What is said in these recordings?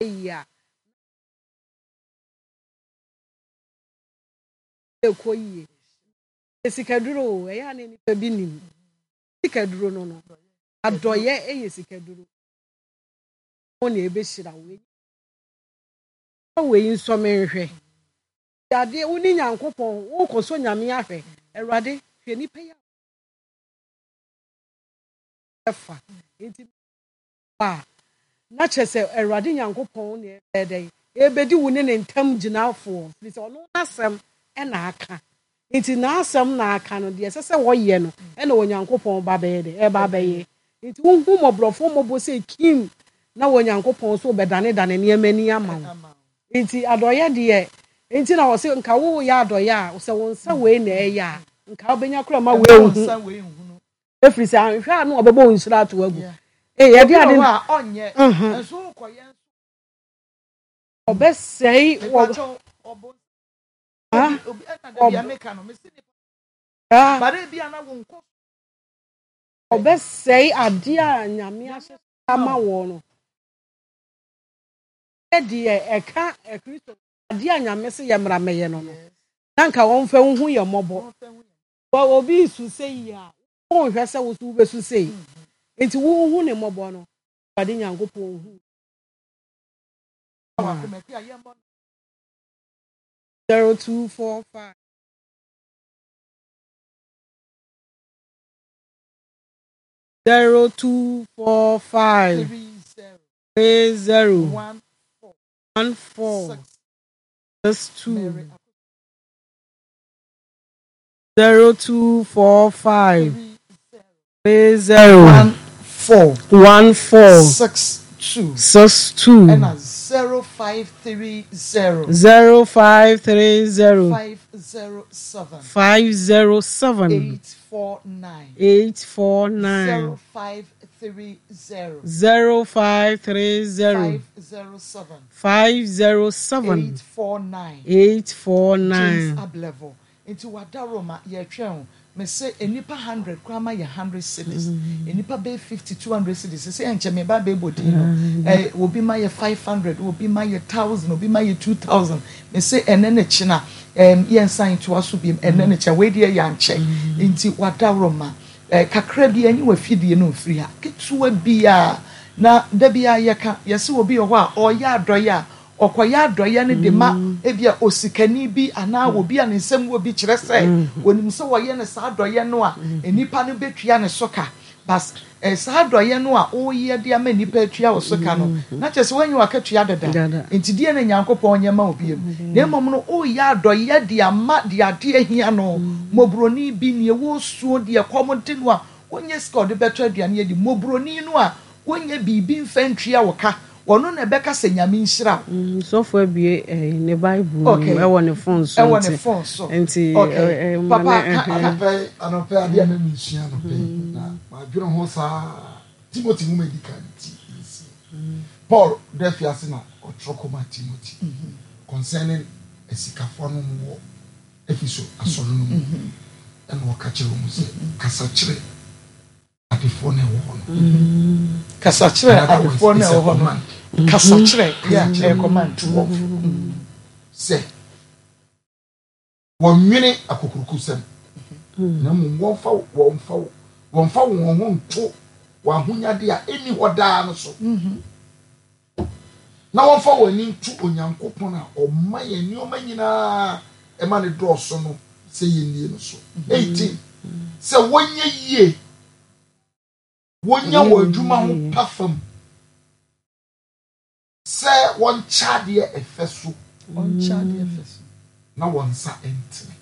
yie a, na ɛkɔ yie. Ɛyɛ sikaduro o, ɛyɛ a na nnipa bi nim. Sikaduro no no, adɔyɛ yɛ sikaduro. Wɔn na ɛbɛhyira wo. Wei nsɔ me nhwɛ. Adeɛ wo ne Nyankopɔn wokɔsɔ Nyame ahwɛ. Awurade hwɛ nipa yi a fa nti a na kyerɛ sɛ Awurade Nyankopɔn na ɛbɛyɛ dɛn ɛbɛdi wo ne ne ntam gyinafoɔ firi sɛ ɔno n'asɛm ɛna aka nti n'asɛm na aka no deɛ ɛsɛ sɛ wɔyɛ no ɛna Onyankopɔn ba bɛyɛ dɛn ɛba bɛyɛ nti wohu mmɔborɔfoɔ mmɔbɔ sɛ kim na Onyankopɔn nso bɛdanedane nneɛma ani ama wo Nti adɔeɛ deɛ nti na wɔse nka woyɛ adɔeɛ a sɛ wo nsa wei na ɛyɛ a nka wobɛnya kora ma wei nhu ɛfiri sɛ anhwɛ a na wɔbɛbɔ wo nhyira ato agu ee yɛde ade ɔbɛsɛe wɔ ɔbɛsɛe adeɛ a Nyame ahyehyɛ ama wɔ no. Deɛ ɛka Kristo adeɛ a Nyame se yɛ mmra mɛyɛ no no, na nka wɔmfa nhu yɛ mmɔbɔ. Wɔ obi resu sei a, wonhwɛ sɛ wo so wobɛsu sei. Nti wohu ne mmɔbɔ no, Awurade Nyankopɔn hu. 0245. 0245. 30 14 62 0245 30 14 62 ɛna 0530 0530 507 507 849 849 0530 0530 507 507 849 849. James Ablevo nti wada Roma yɛtwɛn o mese nnipa 100 koraa ma yɛ 100 cedis nnipa bɛyɛ 50 200 cedis sɛ ɛnkyɛ me ba bɛbɔ din no eh, obi ma yɛ 500 obi ma yɛ 1000 obi ma yɛ 2000 mese ɛnɛ ne kyena eh, yɛnsan ntoa so biem ɛnɛ ne kyena wei deɛ yɛankyɛ nti wada Roma Eh, kakra bi anyi w'afidie no mfiri ha, ketewa bi a, na da bi a yɛka, yɛse obi wɔ hɔ a ɔyɛ adɔeɛ a, ɔkɔyɛ adɔeɛ no de ma ebi a osikani bi anaa obi a ne nsam wɔ bi, kyerɛ sɛ onim sɛ ɔyɛ no saa adɔeɛ no a, nnipa no bɛtua ne so ka. But eh, saa adɔeɛ no a woyɛ de ama nnipa atua wo so ka no, na kyerɛ sɛ woanya w'akatua dada. Nti deɛ na Nyankopɔn nyɛ ma wo biom. Na mmom no, woyɛ adɔeɛ de ama deɛ adeɛ hia no, mmɔborɔni bi, deɛ wɔresuo, deɛ kɔm de no a ɔnnya sika a ɔde bɛtɔ aduane adi, mmɔborɔni no a ɔnnya biribi mfa ntua wo ka, ɔno na ɛbɛka sɛ Nyame nhyira wo. Sɔfo abue ɛyi ne bible mu Okay. ɛwɔ ne phone so Ɛwɔ ne nti phone so. nti Okay. ɛ ɛ ma Papa, ne ka, ɛhɛn. ka. Anɔpa yi, anɔpa yi adeɛ a na meresua anɔpa yi, na madwene ho saa Timothy nwoma a edi kan ti nsia. Paul da afiase na ɔtwerɛ kɔmaa Timothy concerning asikafoɔ no wɔ Efeso asɔre no mu. Ɛna ɔka kyerɛ wɔn sɛ, kasa kyerɛ adefoɔ no ɛwɔ hɔ no. Kasa kyerɛ adefoɔ no ɛwɔ hɔ no. Kasa kyerɛ, yeah, ɛyɛ command. 12 sɛ Wɔnnwene akokurokosɛm, na mmom wɔmfa wɔmfa wɔmfa wɔn ho nto wɔn ahonyade a enni hɔ daa no so, na wɔmfa wɔn ani nto Onyankopɔn a ɔma yɛn nneɛma nyinaa ma no dɔɔso no sɛ yennie no so. 18 sɛ wɔnyɛ yie, wɔnya wɔn adwuma ho pa fam. Sɛ wɔnkyɛ adeɛ ɛfɛ so. Wɔnkyɛ adeɛ ɛfɛ so. Na wɔn nsa ntene.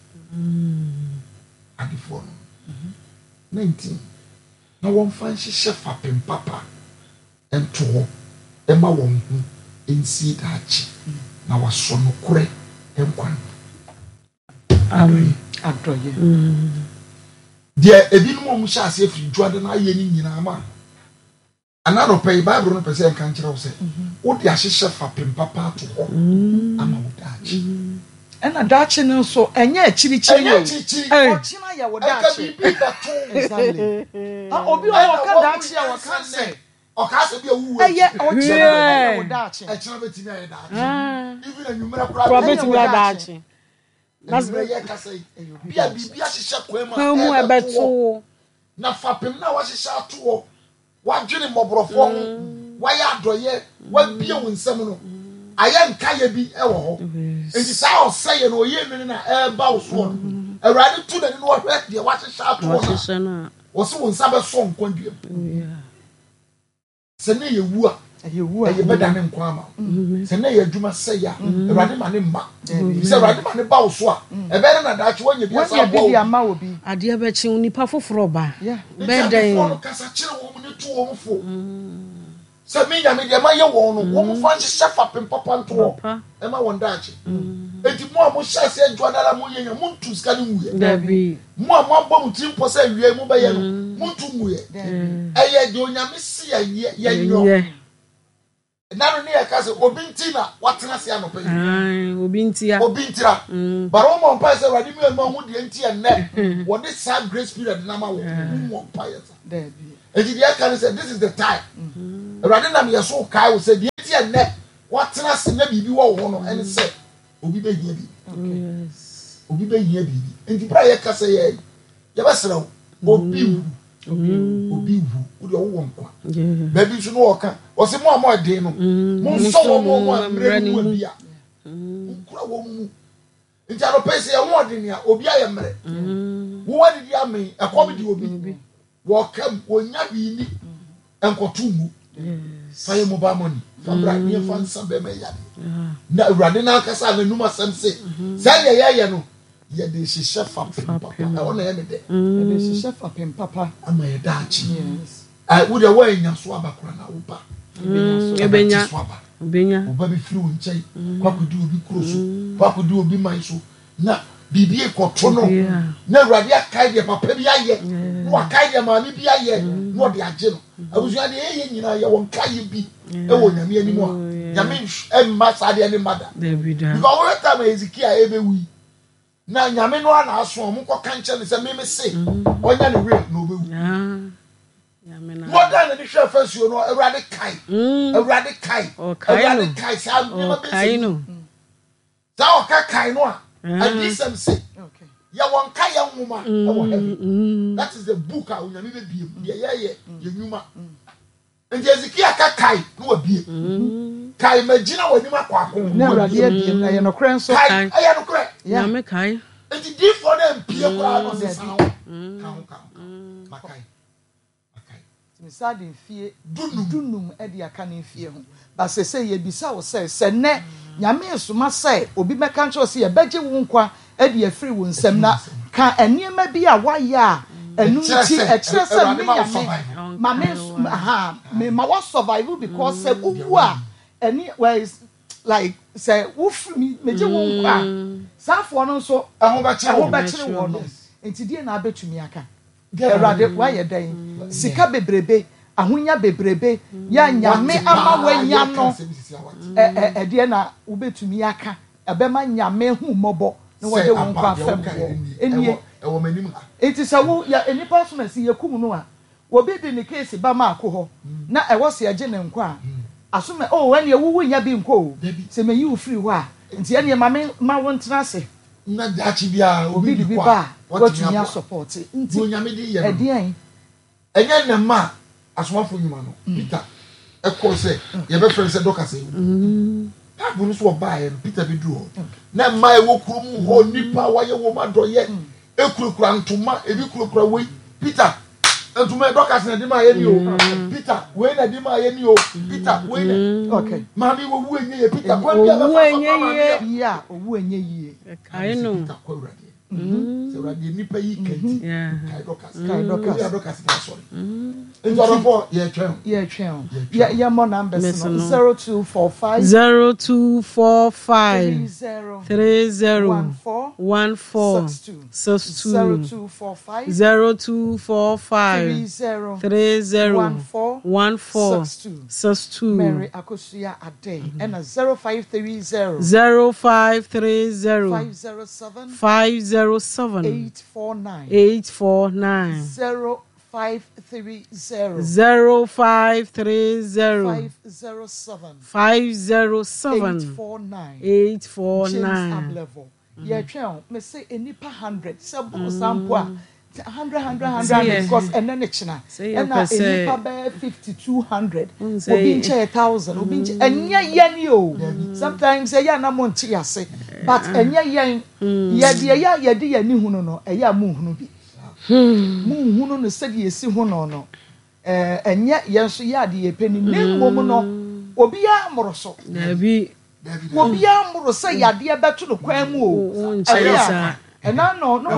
Adefoɔ no. 19 na wɔmfa nhyehyɛ fapem papa nto hɔ mma wɔn ho nsie daakye, na wɔasɔ nokorɛ nkwa no. Amen. Adɔeɛ. Deɛ ebinom a wɔhyɛ aseɛ firi dwoada no ayɛ no nyinaa ma Ɛnnɛ anɔpa yi, Bible no pɛ sɛ ɛnka nkyerɛ wo sɛ wode ahyehyɛ fapem papa ato hɔ ama wo daakye. Ɛna daakye no nso, ɛnyɛ akyirikyiri Ɛnyɛ o. akyirikyiri. Ɔkyena yɛ wo Ɛnka daakye. biribi bɛto wo. Exactly. Ah, obi wɔ hɔ Ɛna ɔka wahu daakye a nyansa ɔka nnɛ. sɛ Ɔkaa sɛ bi a wuwu Ɛyɛ ɔkyena ɛyɛ wo daakye. Ɛkyena bɛtumi ayɛ daakye. Even anwummerɛ koraa Koraa bɛtumi ayɛ daakye. Anwummerɛ yɛ kasa yi, bi a biribi ahyehyɛ kwan mu a ɛbɛto wo. Na fapem no a wahyehyɛ ato hɔ, wadwene mmɔborɔfoɔ ho, wayɛ adɔeɛ, wabue wo nsam no, ayɛ nkaeɛ bi wɔ hɔ. Enti saa ɔsɛeɛ no, ɔyɛ nwene no a ɛreba wo soɔ no, Awurade to n'ani na ɔhwɛ deɛ wahyehyɛ ato hɔ no a, ɔse wo nsa bɛsɔ nkwa dua mu. Sɛ na ɛyɛ wu a, ɛyɛ bɛdane nkwa ama wo. Sɛ na ɛyɛ adwuma sɛe a, Awurade ma ne mma. Efisɛ Awurade ma ne ba wo so a, ɛbɛyɛ dɛ na daakye woanya bi asan aboa obi. Adeɛ bɛkye wo, nipa foforɔ ba. Enti adefoɔ no kasa kyerɛ wɔn ne tu wɔn fo sɛ, Me Nyame, deɛ mayɛ wɔn no, wɔn mfa nhyehyɛ fapem papa nto hɔ mma wɔn daakye. Enti mo a mohyɛ aseɛ dwoa no ara moyɛ nya, montu sika no nguiɛ. Mo a moabɔ mo tirim pɔ sɛ awia yi mobɛyɛ no, montu nguiɛ. Ɛyɛ deɛ Onyame se yɛnyɛ, yɛnyɔ. Ɛna no ne yɛka sɛ obi nti na watena ase anɔpa yi. Obi ntia. Obi ntira. But wɔn mɔ mpae sɛ Awurade mi ɛnu ahu deɛ nti ɛnɛ wɔde saa grace period na ma wɔ. Wɔn mɔ mpae yɛ sa. Eti deɛ ɛka ne sɛ this is the time. Awurade nam yɛ so kae wo sɛ deɛ nti ɛnɛ watena ase na biribi wɔ wo ho no ɛne sɛ obi bɛhia biribi. Obi bɛhia biribi. Nti bere a yɛka sɛ yɛ yɛbɛsrɛ wo obi wu. Obi wu wo deɛ wowɔ nkwa. Baabi nso no ɔka ɔsɛ mo a mo ɛden no mo nsɔ wɔn mo a mmerɛ no mu abi a mo nkura wɔn mu. Nti anɔpɛ sɛ yɛn ho ɔden a obi ayɛ mmerɛ. Wo adidi amee ɛkɔm de obi. Wɔka mu wɔnya hwee ni nkɔto ngu. Fa yɛ mobile money fa bra ne yɛmfa nsa bɛrima yi yadeɛ. Na Awurade no ankasa a n'anum asɛm se saa deɛ yɛyɛ no yɛde hyehyɛ fapem papa. Ɛhɔ na ɛyɛ me dɛ. Yɛde hyehyɛ fapem papa. Ama yɛ daakye. Wo deɛ woannya so aba koraa na wo ba ɛbɛte so aba. Wo ba bɛfiri wo nkyɛn kɔ akɔdi obi kuro so, kɔ akɔdi obi man so na biribi rekɔto no na Awurade akae deɛ papa bi ayɛ na wakae deɛ maame bi ayɛ na ɔde agye no. Abusua deɛ yɛyɛ nyinaa yɛwɔ nkaeɛ bi wɔ Nyame anim a Nyame mma saa deɛ ne mma da. Because wohwɛ time a Hezekiah ɛbɛwu yi na Nyame no ara na aso a wɔnkɔka nkyerɛ no sɛ meme se ɔnya ne will na ɔbɛwu. Na ɔdan n'ani hwɛ fasuo no Awurade kae Awurade kae Awurade kae saa nneɛma bɛsɛ yi. Saa ɔka kae no a, adiyisɛm se, yɛwɔ nkaeɛ nwoma wɔ heaven. That is the book a Onyame bɛbie mu, deɛ yɛyɛ, yɛ nnwuma. Nti Hezekia ka kae na wabie. Kae magyina w'anim akɔ ako na Awurade abie mu, ɛyɛ nokorɛ nso. Kae, ɛyɛ nokorɛ. Nyame kae. Nti diifoɔ no ampie koraa na ɔse san ho, ka ho, ka ho, ka ho, makae. Nti mesan de mfie dunum de aka ne mfie ho. But sesei yɛbisa wo sɛ, sɛ nnɛ Nyame resoma sɛ obi mmɛka nkyerɛ wo sɛ yɛbɛgye wo nkwa de afiri wo nsam na ka nneɛma bi a woayɛ a ɛno nti ɛkyerɛ sɛ me Nyame ma me ahaa mema wo survive because sɛ wowu a ɛne well like sɛ wofiri me megye wo nkwa a saa afoɔ no nso ɛho bɛkyere wɔn no nti deɛ na abɛtumi aka. Awurade woayɛ dɛn? Sika bebrebe, ahonya bebrebe, yɛ a Nyame ama woanya no, ɛdeɛ na wobɛtumi aka ɛbɛma Nyame ahu mmɔbɔ na wɔde wo nkwa afɛm woɔ? Ɛnie. Nti sɛ wo, yɛ, nnipa asomasi yɛkum no a, obi de ne case ba Maako hɔ na ɛwɔ sɛ yɛgye ne nkwa a, asoma, oh ɛneɛ wo wonnya bi nkɔ o, sɛ meyi wo firi hɔ a, nti ɛneɛ ma me ma wo ntena ase. Na daakye biara obi de bi kɔ ba a, a, watumi watumi aboa. asɔpɔte. Deɛ Nti, Onyame de yɛ no no. ɛdeɛn? Ɛnyɛ nnɛ mma a Asomafo Nnwuma no, Peter kɔɔ sɛ yɛbɛfrɛ no sɛ Dorcas awu. Bible no so ɔbaeɛ no, Peter bɛduru hɔ. Na mmaa a ɛwɔ kurom hɔ, nnipa a wɔayɛ wɔn adɔeɛ, kurakura ntoma, ebi kurakura wei. Peter, ntoma yi Dorcas na ɛde maa yɛ ni o. Peter, wei na ɛde maa yɛ ni o. Peter, wei na. Okay. Maame owu enye yie. Peter, kwan bi a Owu bɛfa so enye ama maame yie. yɛ. Yie a, owu enye yie. Ɛkae no. Peter kɔ Awurade. Sɛ Awurade nnipa yi ka nti, kae Dorcas. Kae Dorcas. Ebi a Dorcas na asɔre. Nti ɔdɔfoɔ yɛretwɛn o. Yɛretwɛn o. Yɛ yɛmmɔ numbers no. 0245. 0245. 30. 30. 14. 14. 62. 62. 0245. 0245. 30. 30. 14. 14. 62. 62. Mary Akosua Adei ɛna 0530. 0530. 507. 507. 849. 849. 530. 0530. 507. 507. 849. 849. James Ablevo. Yɛtwɛn o. Mese nnipa 100. Sɛ boro saa mpo a, 100, 100, 100 because ɛnɛ ne kyena. Ɛna nnipa bɛyɛ 50, 200. Obi nkyɛ yɛ 1,000. Obi nkyɛ. Ɛnyɛ yɛn o. Sometimes ɛyɛ a na mo nte ase. But ɛnyɛ yɛn. Yɛ deɛ yɛ a yɛde yɛn ani hunu no, ɛyɛ a monhunu bi. Monhunu no sɛdeɛ ɛsi hu no no. Ɛnyɛ yɛn nso yɛ adeɛ yɛpɛ ni. Na mmom no, obiara mmoro so. Dabi. Obiara mmoro sɛ yadeɛ bɛto no kwan mu o. Wonkyerɛ saa. Ɛna no, no.